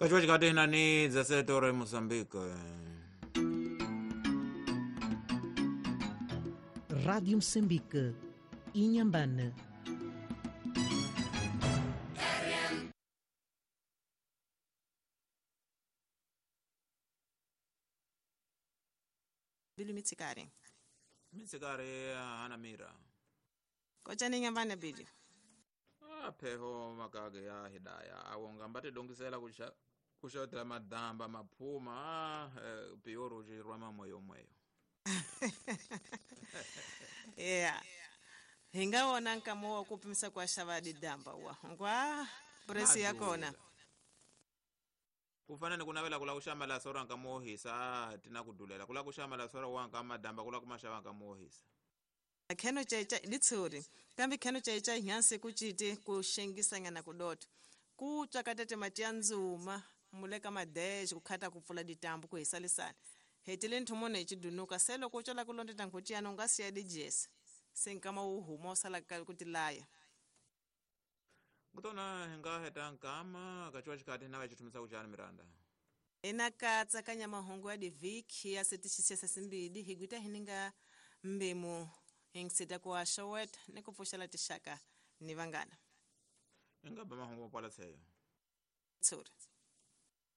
Kachiwa chikati nani 17 horas em Moçambique. Rádio Moçambique, Inhambane. Bilu mitsikari. Mitsikari hana mira. Kocha ni Inhambane Bilu. Pheho makage ya hidaya awonga mbati dongisela kuxotela madamba maphuma pioro xirwama moyo moyo. Yeah. Hinga wona nkamo wa kupimisa kwa xava didamba wa. Ngwa presi ya kona. Kufana ni kunavela kula kuxama la sora nkamo hisa tina kudulela kula kuxama la sora wa nkama damba kula kumaxava nkamo hisa. Kheno checha litsuri kambe kheno checha nyansi kuchite kuxengisanyana kudoto kutswakatete mati ya ndzuma muleka madexe kukhata kupfula ditambu kuhisalisana hetile nthumone hi chidunuka se loko u cola kulondeta nkhuciyana u nga siya dijesi se nkama wu huma u sala ku tilaya. Kutona hi nga heta nkama kachiwa xikati na va xithumisa kuchani Miranda. Ina katsakanya mahungu ya divhiki ya setixisesa simbili hi gwita hi ninga mbimu hingisita ku axoweta ni ku pfuxela tixaka ni vanghana. Hi nga ba mahungu makwala tsheyo. Tsuri.